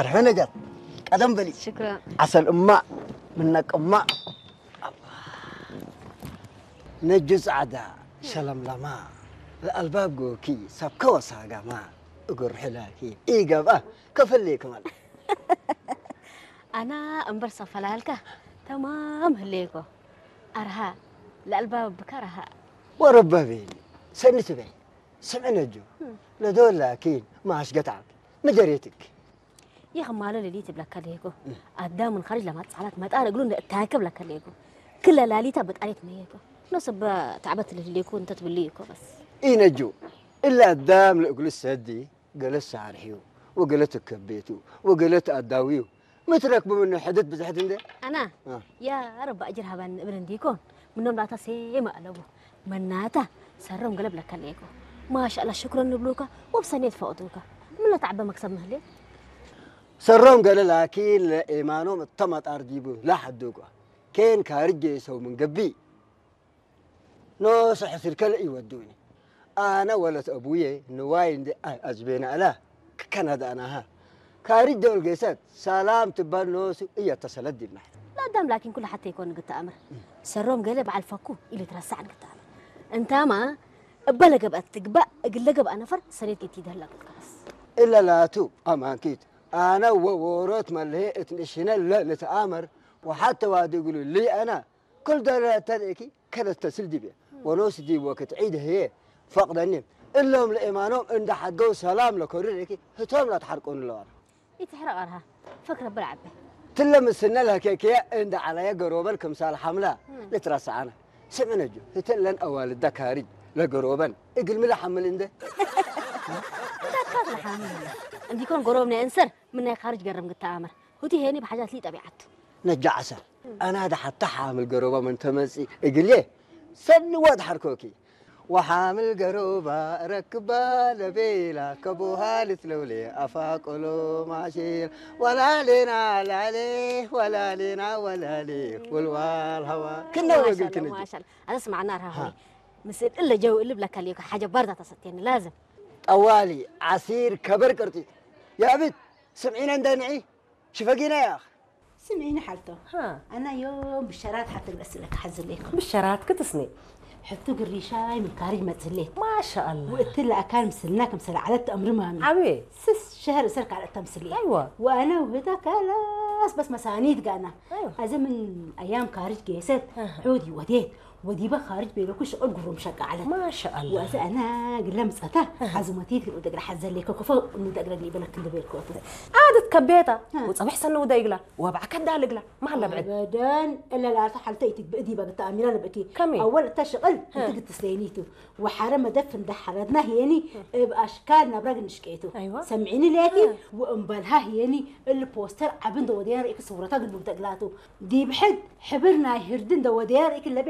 ኣርሑ ነጃት ቀደም በሊ ሽክራ ዓሰል እማ ምነቅ እማ ነጁ ጻዕዳ ሸለምለማ ለኣልባብ ጎኪ ሰብ ከወሳጋማ እግር ሕላኪ ኢገብኣ ከፈልይ ክማል ኣና እምበር ሰፈላልካ ተማም ህሌኮ ኣርሃ ለኣልባብ ብካ ረሃ ወረበቤኒ ሰኒ ትበይ ስምዒ ነጁ ለዶላኪን ማሽ ገታዕኪ ምደሬትኪ ይኸማሎ ሌሊት ይብለካ ለየኮ ኣዳም ንኸርጅ ለማት ጻላት መጣር እግሉ እታከብ ለካ ለየኮ ክለ ላሊታ በጣሪት መየኮ ኖ ሰበ ታዕበት ለሌኮ እንተ ትብልይ እኮ በስ ኢነጁ እላ ኣዳም ለእግሉ ሰዲ ገለ ሳርሕዩ ወገለ ትከቤቱ ወገለ ተኣዳዊዩ ምትረክቡ ምኑ ሕድት ብዝሕት እንደ ኣና ያ ረባ እጅር ሃባን እብል እንዲኮን ምኖም ላታ ሴማ ኣለቡ መናታ ሰሮም ገለ ብለካ ለየኮ ማሻላ ሽክረን ንብሉካ ወብሰኔት ፈቕዱካ ምለ ተዓበ መክሰብ ምህሌ ሰሮም ገለ ላኪን ለኤማኖም እተመጣር ዲቡ ላሐዱኳ ኬን ካርጅ ሰው ምን ገቢ ኖ ስሕስር ከለ ይወዱኒ ኣነ ወለት ኣቡዬ ንዋይ እንደ ኣጅቤና ኣላ ከነዳናሃ ካርጅ ደውል ጌሰት ሰላም ትባል ኖሱ እየተሰለድ ይብና ለአዳም ላኪን ኩሉ ሓተ ይኮን ግተኣምር ሰሮም ገለ በዓል ፈኩ ኢሉ ትረሳዕ ግተኣምር እንታማ እበ ለገብአት ትግባእ እግል ለገብአ ነፈር ሰሬት ጌት ይደህላ ግልካስ እለ ላቱ ኣማንኪት ኣነ ወወሮት መልሄ እትንእሽነ ለልትኣመር ወሓተ ዋዲ እግሉ ልይ ኣና ክል ደረተን እኪ ከደት ተስል ዲቤ ወኖስ ዲብ ወክት ዒድ ህዬ ፈቅደኒ እሎም ለኤማኖም እንደ ሓድገው ሰላም ለኮርር እኪ ህቶም ላትሓርቆኑ ለዋና ኢትሕረቕ ኣርሃ ፈክረ ብር ዓበ ትለ ምስነ ለከኬ እንደ ዓላየ ገሮበን ክምሳል ሓምላ ልትረሳዓነ ስምዕነጁ ህተን ለን ኣዋልዳ ካሪጅ ለገሮበን እግልሚ ለሓምል እንደ ደካት ለሓምል እንዲኮን ጎሮብ ናይ እንሰር ምን ናይ ካርጅ ገርም ግተኣምር ሁቲ ሄኒ ብሓጃት ሊ ጠቢዓቱ ነጃ ዓሰል ኣና ደ ሓታ ሓምል ገሮባ ምን ተመጺ እግልየ ሰኒ ወድ ሓርኮኪ ወሓምል ገሮባ ረክባ ለቤላ ከቦሃልት ለውሌ ኣፋቆሎ ማሽል ወላሌና ላሌ ወላሌና ወላሌ ወልዋል ሃዋ ክነወግል ማሻላ ክነጅ ማሻላ ኣዘስ ማዕና ርሃ ሆይ ምስል እለ ጀው እልብ ለካ ልዮካ ሓጀ ባርዛ ተሰትየኒ ላዝም ጠዋሊ ዓሲር ከበር ቅርጢ ያብት ስምዒነ እንደ ንዒ ሽፈጊና ያኽ ስምዒኒ ሓልቶ ሃ ኣና ዮም ብሸራት ሓተ ግለስለካ ሓዝለይኩ ብሸራት ክትስኒ ሕቱ ግሪሻይ ምካሪጅ መጽሌት ማሻኣላ ወእቲ ለኣካል ምስልና ከም ሰለ ዓለት ተእምሪ ማሚ ዓብየ ስስ ሸህር እሰር ካልእ ተምስሊ ኣይዋ ወኣነ ውህታ ከላስ በስ መሳኒት ጋና ኣይዋ ኣዚ ምን ኣያም ካሪጅ ጌሰት ኣሃ። ሑድ ይወዴት ወዲበ ካርጅ ቤለኩ ሽቕል ጉሩም ሸቃ ዓለት ማሻኣላ ወእዚ ኣና ግለ ምጸታ ሓዝሞቲት ግል ደግረ ሓዘለይኮ ክፎ እኑ ደግረ ሊበለክ እንደ ቤልኮቱ ዓደት ከቤታ ሃ። ወጸብሕ ሰነ ውዳ ይግላ ወባዕ ከዳ ልግላ ማለ ብዕድ ኣበደን እለ ላታ ሓልተ ኢትግብእ ዲባ ግተኣሚራ ልብእኪ ከመይ? ኣወል እታ ሽቕል ሀ። እንትግትስለይኒቱ ወሓረ መደፍ እንደ ሓረድና ህየኒ እብ ኣሽካል ናብራ ግንሽቀይቱ ኣይዋ። ሰምዒኒ ለያኪ ሀ። ወእምበልሃ ህየኒ እል ፖስተር ዓብ እንደ ወደያ ርእኪ ስውረታ ግልቡብ ተግላቱ ዲብ ሕድ ሕብር ናይ ህርዲ እንደ ወደያ ርእኪ ለቤ